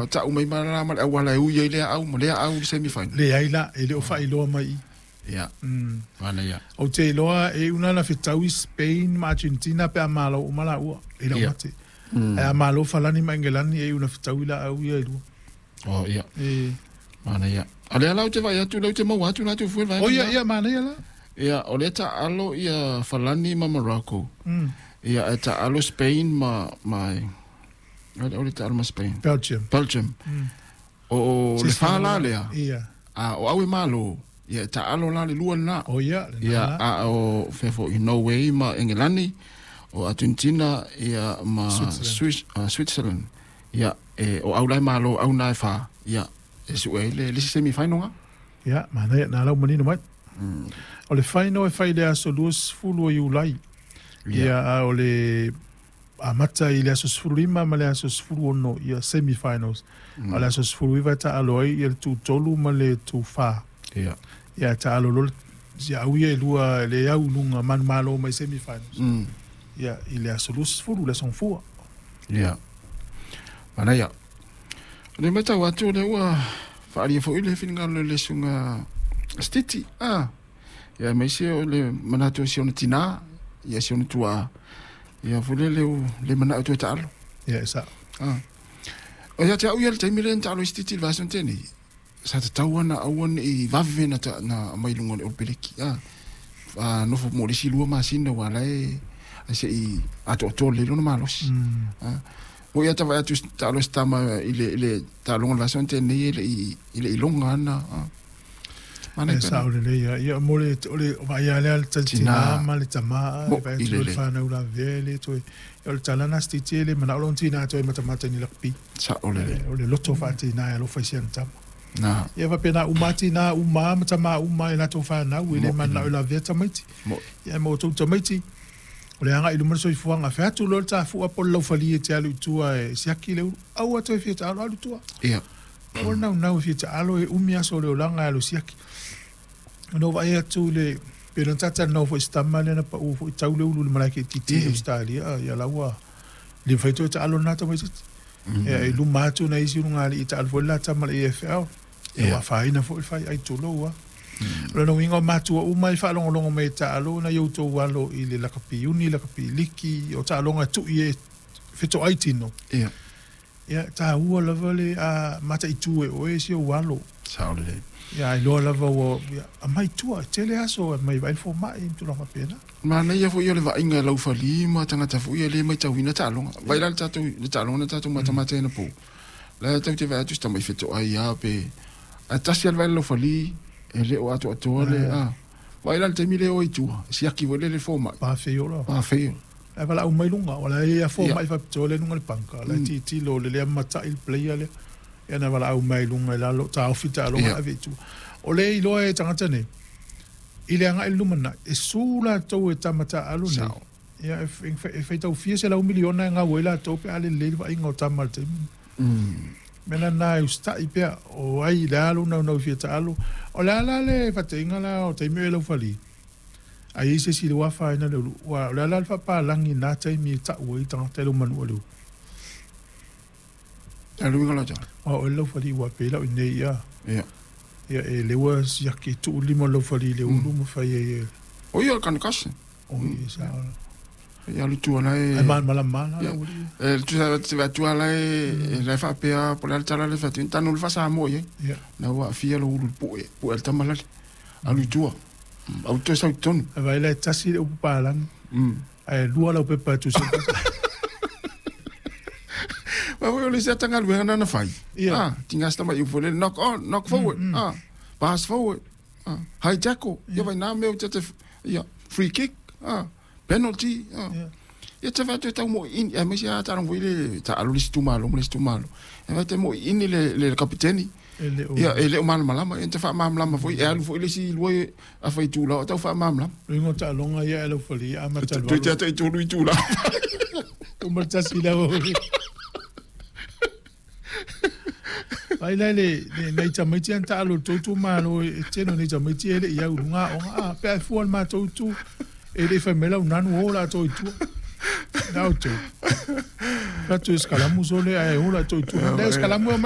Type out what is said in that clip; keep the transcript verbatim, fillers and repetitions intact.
ua ta'u mai ma ma le auala e ui ai lea au ma lea au i le semi final. Leai la, e le o faailoa mai i. Ia, Mm. manaia. Ou te iloa e una na fetaui Spain ma Argentina pe a malo uma laua i lau Ia. mate. Ae a malo Falani ma Engelani e una fetaui laau ia e lua. O ia, E. manaia. A lea la ou te vaai atu lea ou te maua atu la atu fue le vaega O ia, lena. ia, manaia la. Ia, o lea taalo ia Falani ma Morocco. Mm. Ia, e taalo Spain ma ma o le o le taalo ma Spain. Belgium. Belgium. Mm. O o le fa la lea. Ia. A o au e malo. Ia, e taalo la le lua lena. O ia, lena Ia, la. a o fea foi Norway ma Engelani, o Argentina ia ma Switzerland. Swiss, uh, Switzerland. Ia, e o au lai malo au nai fa. Ia, e su e le le semi final nga. Ia, manaia, na lau manino mai. O le final e fai i le aso luasefulu o Iulai. Ia, a o le amata i le aso sefululima ma le aso sefuluono ia semi-finals. O le aso sefuluiva e taalo ai ia le tutolu ma le tufā. Ia. Ia taalo loa ia au ia e lua le au i luga manumalo mai semi-finals. Mm. Ia i le aso luasefulu, le aso gafua. Ia. Manaia. O le matau atu o lea ua faaalia foi le finagalo i le susuga Stiti. Ah. Ia aemaise o le manatu o si ona tinā, ia si ona tuaa. Ia foi le le le manao toe taalo. Ia e sa'o. Ah. O ia te au ia le taimi lea na taalo ai Stiti i le vaiaso na tea nei. Sa tatau ana aua ne'i vave na ta na aumai i luga o le Olopeleki. Ah. Fa nofo mo le isi lua masina ua ala e ai se'i atoatoa lelei lona malosi. Mm. Ah. Mo ia tavaai atu taalo se tama i le i le taaloga o le vaiaso na tea nei e le'i i le'i loga ana. Ah. Mana E i pena. sa'o lelei ia. Ia mo le o le vaai lea le Tinā. tinā ma le tamā Mo e vaai i atu le le le. fanau lavea e le toe. O le tala na Stiti e le mana'o lona tinā toe matamata i ni lakapi. Sa'o lelei. O le loto fa'atinā e alofa i si ana tama. Na. Ia faapena uma tinā uma ma tamā uma i latou fanau e le Mo i mana'o le. i lavea tamaiti. Mo. Ia ma outou tamaiti. O le aga'i i luma le soifuaga fe atu loa le tafu'a po o le laufali e te alu i tua e siaki le ulu. Aua toe fia taalo alu i tua. Ia. O le naunau e fia taalo e umi aso o le olaga e alu siaki. Ona ou vaai atu i le pe na tatalanoa foi i se tama lea na pa'u foi tau le ulu i le malae keititi i Ie. Australia ia la ua le mafai toe taalo lena tamaititi. Ia i luma atu nai isi ulugalii taalo foi le la tama i le A F L. Ia Ia. ua afaina foi le fai ai tulou a. O lona uiga o matua uma e faalogologo mai e taalo na i outou alo i le lakapi uni, lakapi liki, o taaloga e tu'i e feto'ai tino. Ia. Ia tāua lava le a mataʻitū e oe si ou alo. Sa'o lelei. Ia iloa lava ua ia, aumai tua, e tele aso e mai vaai le fomaʻi ma tulaga faapena. Manaia foi o le vaaiga e laufali ma tagata foi e lē maitauina taaloga. Vai la le tatou le taaloga na tatou matamata ai anapo. La e tatou te vaai atu se tama i feto'ai a pe ae tasi a le vaai le laufali e le o atoatoa le a. Vai la le taimi le o i tua, siaki foi le le fomaʻi. Pafeiola. Pafeiola. Ae valaau mai luga, o la e afua Ia. mai faapitoa le luga le panka, la e Mm. tilotilo le lea mataʻi le player lea. Ia na valaau mai luga i lalo, taofi taaloga Ia. ave i tua. O le iloa e tagata nei, i le agaʻi i le lumanaʻi, e sū latou e tama taalo nei. Sa'o. Ia e f- e faitaufia se lau miliona e gau ai latou pe a lelei le vaaiga o tama i le taimi. Mm. Mea lena e usitaʻi pea o ai le a lou naunau i fia taalo. O le a la le faataiga la o taimi o e laufali. Ai ai se isi i le uafaina le ulu. Ua o le a la le faapalagi na taimi e ta'u ai tagata i lou manu'a le ulu. A le uiga la tala. Ua o le laufali ua pei la'u inei ia. Ia. Ia e le ua siaki tu'u lima o le laufali i le ulu ma fai ai e. O ia o le kanekase. O ia sa ola. Ia alu i tua la e Ai malamalama la Ia. la uli. E le tusa te vaai atu ala e e la e faapea po o le a le tala le faatu tanu le faasamoa i ai. Ia. Na ua aafia lou ulu i le pu'e pu'e a le tama lale. Alu i tua. Au toe sau i totonu. Ae vaai la e tasi le upu palagi. Mm. Ae lua lau pepa e tusa. Ma foi o le isi atagaluega na na fai. Ia. Ah, tiga se tamaʻi upu foi lele knock on, knock forward. Mm, mm. Ah, pass forward. Ah, high tackle. Ia vai nā mea o te te ia free kick. Ah, penalty. Ah. Ia. Ia te vaai atu e tau moʻiʻini aemaise a taaloga foi le taalo le isi itumalo ma le isi itumalo. E vaai te moʻiʻini le le kapiteni. E le o. Ia e le o malamalama ia te faamalamalama foi e alu foi le isi lua afa i tula o tau faamalamalama. Luiga o taaloga ia e laufali amata le Toe te valo. ata i tolu i tula. Uma le tasi le uli. Vai la le le nei tamaiti ana taalo i le tou itumalo e tele o nei tamaiti e leʻi au i luga aoga a pe a e fua le matou itu e leʻi fai mai lau nanu o latou i tua. Na outou. Fatu e sekalamu sole ae o latou i tua. Le o sekalamu e omai